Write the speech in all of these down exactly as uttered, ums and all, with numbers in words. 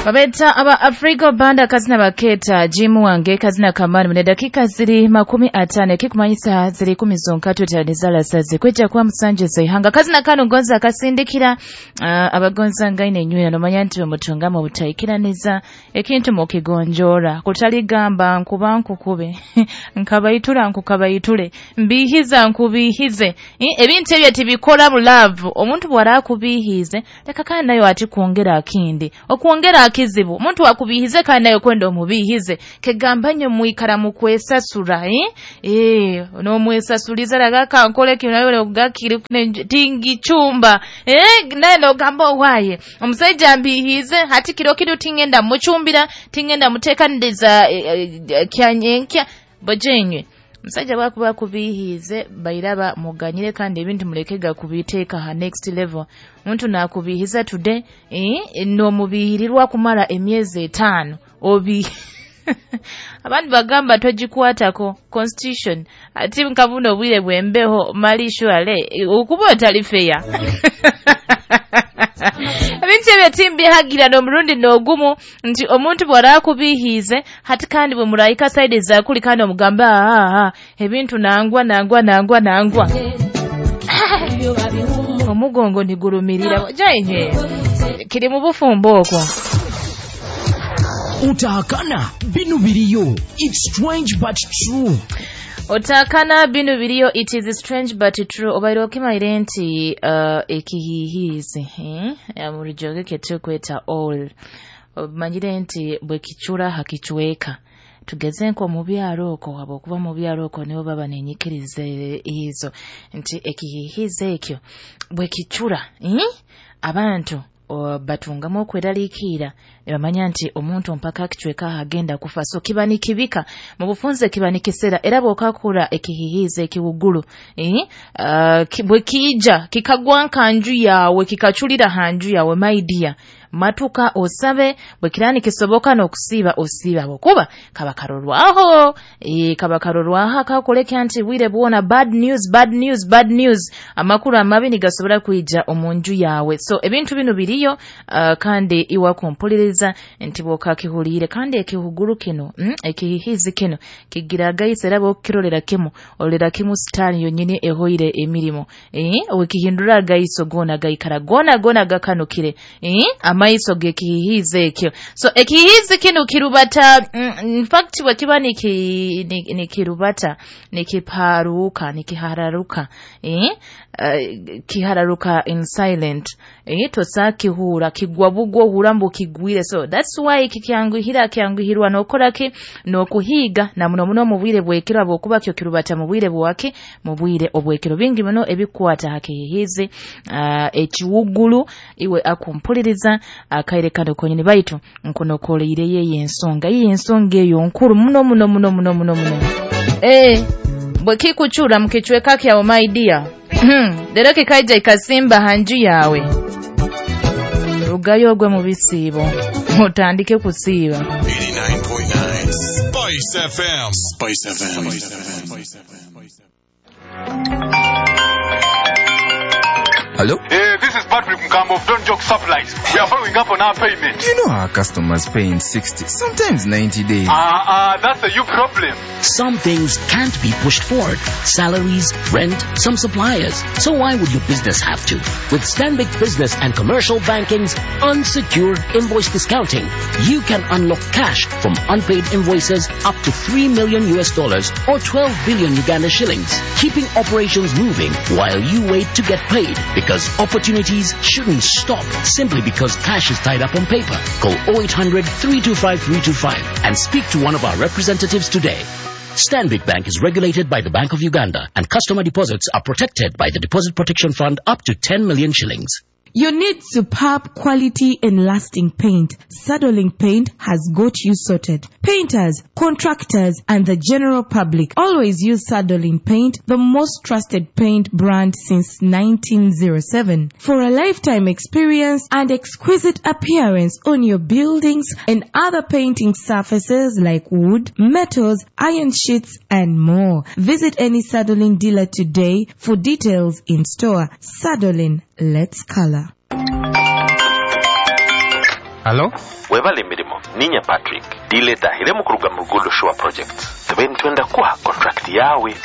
Babeta aba Afrika banda kazina baketa Jimu wange kazina kamani mune dakika ziri makumi atano kikumanyisa ziri kumi zonka tutanizala sazi kweja kwa musanje zaihanga kazina kano gonza akasindikira uh, abagonza ngaine nywira nomanya nti bamutungamo butaikiraniza ekintu mukigonjora kutaligamba nkuba nkukube nkabayitura nkukabayitule mbihiza nkubihize ebintu ebyo tibikora mu love omuntu bwara kubihize leka kandi nayo ati kuongera akindi okuongera akizibu omuntu akubihize kandi nayo kwenda omubihize kegambanye muikara mu kwesasura eh eh no mwesasuliza ragaka nkole kinayo gakiri tingi chumba eh naye no gamba waye omusajja mbihize hati kiro kidu tingenda muchumbira tingenda mutekaniriza e, e, kyanyenkya bojenywe musajja bakuba kubihize bairaba muganyire kandi ebintu mulekega kubiteeka ha next level omuntu nakubihiza today eh no mubihirirwa kumara emyezi etano obi abandi bagamba togikwatako constitution ati nkabuno obwire bwembeho mali shwale okuba otali fair ebintu ebyo timbihagira n'omurundi n'ogumu nti omuntu bw'araakubihiize hati kandi bwe murayika side zakuli kandi omugamba ah ebintu nangwa nangwa nangwa nangwa omugongo nigurumirira jainye kiri mu bufumbo okwo. Utahakana binu biriyo, it's strange but true. Otakana binu biriyo, it is strange but true. Obaire okimaire nti uh, ekihihizi eh? Mu rujoge ketukweta all omanyire nti bwe kichura hakichweka tugeze nko mu byalo okwo abo okuva mu byalo okwo nibo baba nenyikiriza ezo nti ekihihizi ekyo bwe kichura eh? Abantu batungamu okweraliikirira ne bamanya nti omuntu mpaka akichweka agenda kufa so kiba nikibika mu bufunze kiba nikisera era bw'okakura ekihihizi ekiwugulu eh? uh, ki, bwe kiija kikagwa nkanju yawe kikachulira hanju yawe my dear matuka osabe bwe kirani kisoboka n'okusiiba osiiba bwokuba kaba karorwaho e, kaba karorwaho akakoleka nti bwire bwona bad news bad news bad news amakuru amabi nigasobola kwija omunju yawe so ebintu bino biriyo uh, kandi iwa kumpuliriza nti bwokakihulire kandi ekihuguru kino mm, ekihihizi kino kigira gayise era bwokirolera kimu olera kimu sitani yonyini ehoire emirimo e, wekihindura gayiso gona gayikara gona gona gakanukire e, amaiso gekihihizi ekyo so ekihihizi kino kirubata mm, in fact bwekiba niki nikirubata nikiparuka nikihararuka eh uh, kihararuka in silent eh tosakihura kigwa bugwo hurambo kigwire so that's why kikyanguhira kyanguhirwa nokora ki nokuhiga na muno muno mu bwire bwekiro abokuba kyo kirubata mu bwire bwake mu bwire obwekiro bingi muno ebikwata hakihihizi uh, ekiwugulu iwe akumpuliriza akaire kano konyini baitu nkonokoleire yeye ensonga iyi ensonga eyo nkuru muno muno muno muno muno muno eh bwe kikuchura mukichweka kyawo my dear lero kikaija ikasimba hanju yawe rugayo ogwe mu bisiibo mutandike kusiiba. Eighty-nine point nine Spice F M. Spice F M. Spice F M. Hello? Hey, this is Patrick Mkambo of Don't Joke Supplies. We are following up on our payment. You know our customers pay in sixty, sometimes ninety days. Ah, uh, uh, that's a you problem. Some things can't be pushed forward. Salaries, rent, some suppliers. So why would your business have to? With Stanbic Business and Commercial Banking's unsecured invoice discounting, you can unlock cash from unpaid invoices up to three million U S dollars or twelve billion Uganda shillings, keeping operations moving while you wait to get paid. Because opportunities shouldn't stop simply because cash is tied up on paper. Call oh eight hundred, three two five, three two five and speak to one of our representatives today. Stanbic Bank is regulated by the Bank of Uganda and customer deposits are protected by the Deposit Protection Fund up to ten million shillings. You need superb quality and lasting paint. Sadolin Paint has got you sorted. Painters, contractors, and the general public always use Sadolin Paint, the most trusted paint brand since nineteen oh seven. For a lifetime experience and exquisite appearance on your buildings and other painting surfaces like wood, metals, iron sheets, and more. Visit any Sadolin dealer today for details in store. Sadolin, let's color. Halo? Webale emirimo. Ninya Patrick. Dile tahiremu kuruga mu Rugudo Shore Project. Tube nitwenda kuha contract yawe.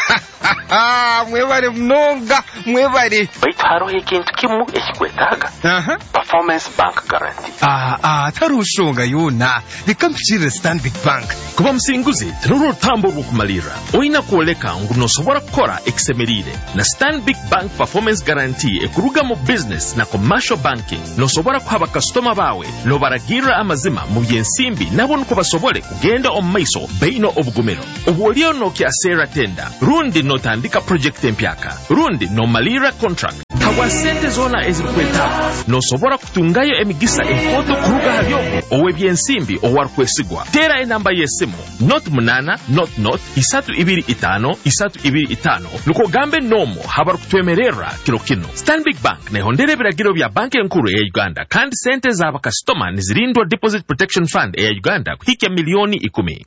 Mwebale mnonga, mwebale. Baitu haroho ekintu kimu ekikwetaaga. Aha. Performance Bank Guarantee. Ah, ah, tarushonga yona. Reka mpikirire Stanbic Bank. Kuba musinguzi tinurwo rutambo rw'okumalirra. Olina kwoleka ngu nosobora kukora ekisemeriire. Na Stanbic Bank Performance Guarantee ekuruga mu business na commercial banking. Nosobora kuha bakasitoma bawe nobaragirra amazima mu byensimbi nabo niko basobole kugenda omu maiso baino obugumiro. Obu oliyo nokyaseera tenda, rundi notandika project empyaka, rundi nomalirra contract. Habwa sente zona ezirikwetaaga nosobora kutungayo emigisa enkoto kuruga hali ow'ebyensimbi owarukwesigwa. Teera enamba y'esimu not munana not not isatu ibiri itano isatu ibiri itano nukwo gambe nomo habarukutwemererra kiro kino. Stanbic Bank nehondera ebiragiro bya banki enkuru eya Uganda kandi sente z'abakasitoma nizirindwa Deposit Protection Fund eya Uganda kuhikya milioni ikumi.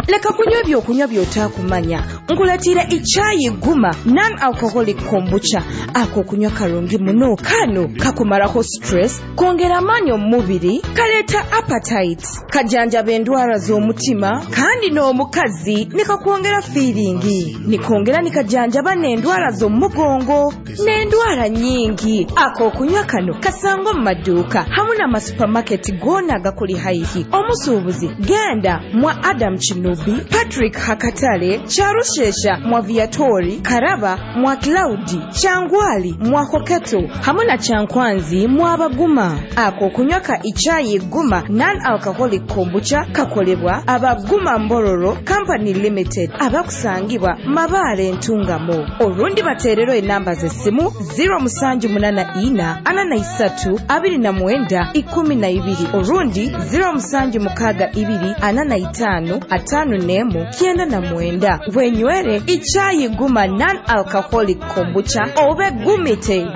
Leka kunywa ebyokunywa by'otaakumanya. Nkuletire ichayi guma non-alcoholic kombucha. Ako kunywa karungi muno. Kano kakumarako stress, kongera amaanyi omu mubiri, kaleeta appetite, kajanjaba endwara z'omutima, kandi n'omukazi nikakwongera feeling. Nikongera nikajanjaba n'endwara z'omugongo n'endwara nyingi. Ako kunywa kano kasangwa mu maduuka hamwe n'amasupamaketi goona agakuli haihi. Omusuubuzi genda mwa Adam Chinubi, Patrick Hakatale, Charushesha mwa Viatori, Karaba mwa Claudi, Changwali mwa Hoketo hamwe na Chankwanzi mwa Baguma. Ako kunywa ka ichayi guma non-alcoholic kombucha kakolebwa Abaguma Mbororo Company Limited abakusangibwa Mabaale Ntungamo. Orundi baterero enamba z'essimu zero musanju munana ina ana na isatu abiri na mwenda ikumi na ibiri, orundi zero musanju mukaga ibiri ana na itano atano nemu kienda na mwenda. Wenywere ichayi guma non-alcoholic kombucha obe gumite.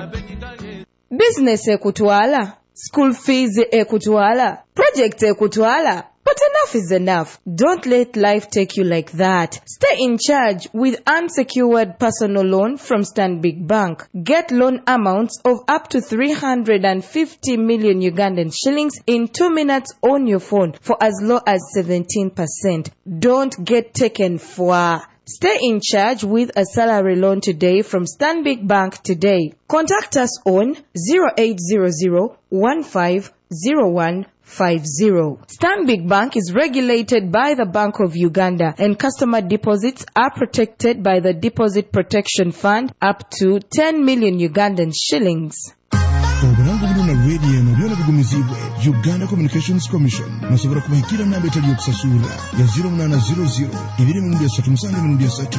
Business ekutwala, school fees ekutwala, project ekutwala. But enough is enough. Don't let life take you like that. Stay in charge with unsecured personal loan from Stanbic Bank. Get loan amounts of up to three hundred fifty million Ugandan shillings in two minutes on your phone for as low as seventeen percent. Don't get taken for. Stay in charge with a salary loan today from Stanbic Bank today. Contact us on zero eight zero zero one five zero one five zero. Stanbic Bank is regulated by the Bank of Uganda and customer deposits are protected by the Deposit Protection Fund up to ten million Ugandan shillings. Obulango buno na radio eno byona bigumizibwe Uganda Communications Commission. Musobola kubahikira namba etali yokusasura ya zero munana zero zero ibiri mirundi esatu musanju mirundi esatu.